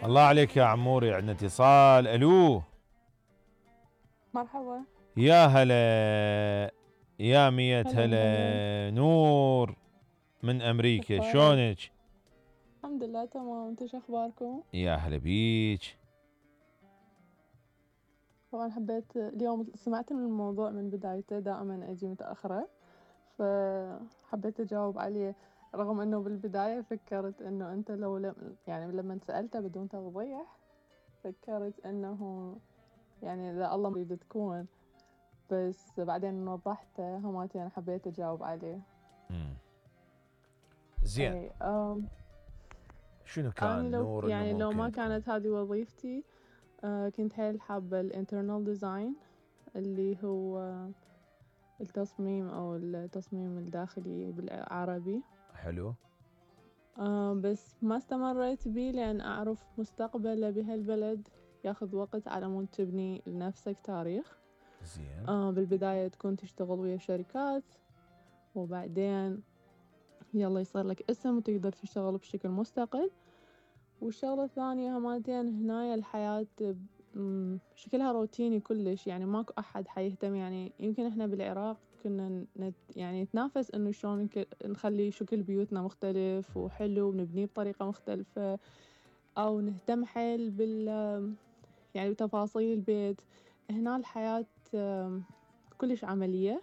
الله عليك يا عموري، عندنا اتصال. الو مرحبا. يا هلا يا مية هلا. هلا. نور من امريكا، اخبارك؟ شلونك؟ الحمد لله تمام، انتو شو اخباركم؟ يا هلا بيك. طبعا حبيت اليوم سمعت من الموضوع من بدايته، دائما اجي متأخرة فحبيت اجاوب عليه، رغم انه بالبداية فكرت انه انت يعني لما سألته بدون توضيح فكرت انه يعني اذا الله يريد تكون، بس بعدين وضحته هماتي حبيت اجاوب عليه. زين. اي شنو اني كان نور انه يعني لو ما ممكن تكون؟ كانت هذه وظيفتي كنت حيل حابة الانترنال ديزاين، اللي هو التصميم أو التصميم الداخلي بالعربي. حلو. بس ما استمريت بيه لأن أعرف مستقبله بهالبلد ياخذ وقت على مود تبني لنفسك تاريخ. زين. بالبداية تكون تشتغل ويا شركات، وبعدين يلا يصير لك اسم وتقدر تشتغل بشكل مستقل. والشغلة الثانية همتين هنايا الحياة شكلها روتيني كلش، يعني ماكو أحد حيهتم. يعني يمكن إحنا بالعراق كنا يعني نتنافس إنه شلون نخلي شكل بيوتنا مختلف وحلو ونبنيه بطريقة مختلفة، أو نهتم حيل يعني بتفاصيل البيت. هنا الحياة كلش عملية،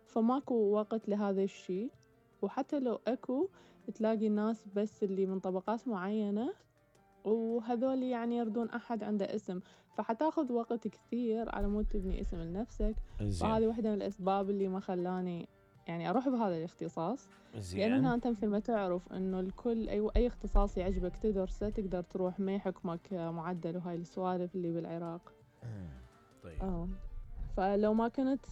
فماكو وقت لهذا الشي. وحتى لو أكو تلاقي الناس بس اللي من طبقات معينة، وهذول يعني يردون أحد عنده اسم، فحتاخذ وقت كثير على مود تبني اسم لنفسك. زين. فهذه واحدة من الأسباب اللي ما خلاني يعني أروح بهذا الاختصاص. لأنه زين. هنا أنت مثل ما تعرف إنه الكل أي اختصاص يعجبك تدرسه تقدر تروح، ما يحكمك معدل وهاي السوالف اللي بالعراق. طيب. فلو ما كنت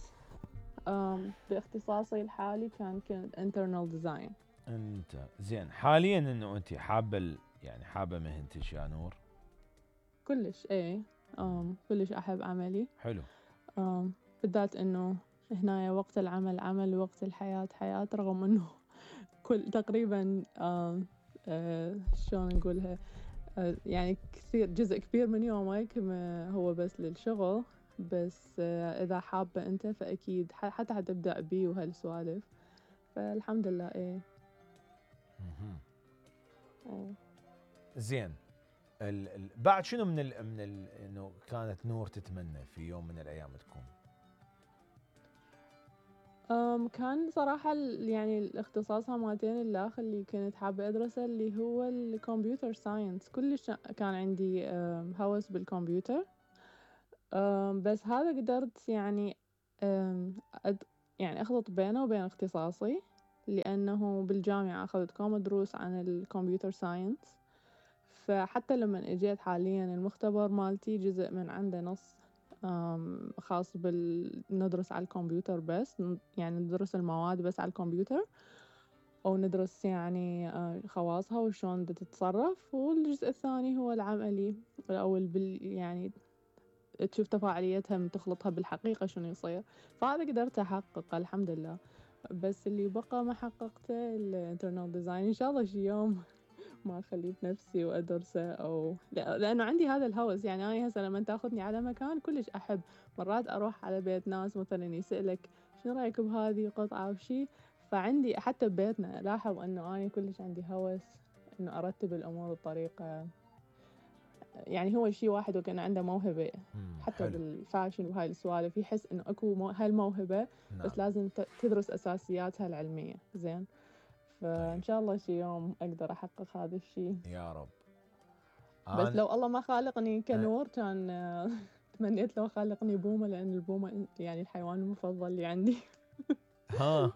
باختصاصي الحالي كنت internal design. انت زين حاليا انه انت حابه يعني حابه مهنتك يا نور؟ كلش ايه. كلش احب عملي. حلو. بالذات انه هنا وقت العمل عمل ووقت الحياة حياة، رغم انه كل تقريبا شلون نقولها، يعني كثير جزء كبير من يومك هو بس للشغل. بس اذا حابة انت فاكيد حتى حتبدأ بيه وهالسوالف. فالحمد لله ايه. زين. بعد شنو انه كانت نور تتمنى في يوم من الايام تكون؟ كان صراحة يعني الاختصاص همتين الآخر اللي كنت حابة أدرسه اللي هو الكمبيوتر ساينس. كلش كان عندي هوس بالكمبيوتر. بس هذا قدرت يعني يعني أخلط بينه وبين اختصاصي، لأنه بالجامعة أخذت كم دروس عن الكمبيوتر ساينس. فحتى لما اجيت حاليا المختبر مالتي جزء من عنده نص خاص ندرس على الكمبيوتر بس، يعني ندرس المواد بس على الكمبيوتر، أو ندرس يعني خواصها وشون تتصرف. والجزء الثاني هو العملي، أو يعني تشوف تفاعليتها من تخلطها بالحقيقة شنو يصير. فهذا قدرت أحققه الحمد لله. بس اللي بقى ما حققته الانترنال ديزاين. إن شاء الله شي يوم ما أخليه بنفسي وأدرسه، أو لأنه عندي هذا الهوس. يعني أنا هسه لما تاخذني على مكان كلش أحب مرات أروح على بيت ناس مثلا يسألك شنو رأيك بهذه قطعة وشي. فعندي حتى ببيتنا لاحظ أنه أنا كلش عندي هوس أنه أرتب الأمور بطريقة، يعني هو شي واحد وكان عنده موهبة حتى حلو. بالفاشن وهاي السوالف، يحس إنه أكو هالموهبة. نعم. بس لازم تدرس أساسياتها العلمية زين. فإن طيب. شاء الله شي يوم أقدر أحقق هذا الشي. يا رب. بس لو الله ما خالقني كنور كان تمنيت لو خالقني بومة، لأن البومة يعني الحيوان المفضل اللي عندي. ها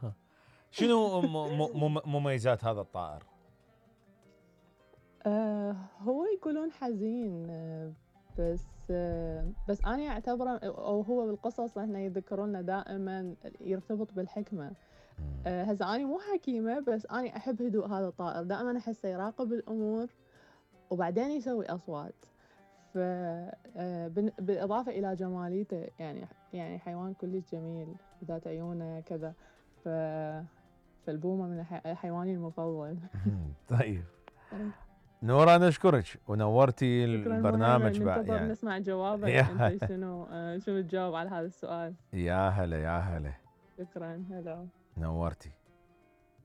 شنو مميزات هذا الطائر؟ هو يقولون حزين، بس أنا أعتبره، أو هو بالقصص إحنا يذكرونا دائما يرتبط بالحكمة. هسه أنا مو حكيمة، بس أنا أحب هدوء هذا الطائر. دائما أحسه يراقب الأمور وبعدين يسوي أصوات. بالإضافة إلى جماليته، يعني حيوان كلش جميل ذات عيونه كذا. ف... فالبومة من حيواني المفضل. طيب. نورة أنا أشكرك ونورتي شكرا البرنامج مهند، ننتظر يعني. نسمع جوابك يا انت شنو تجاوب على هذا السؤال. يا هلا يا هلا. شكرا، هلا. نورتي.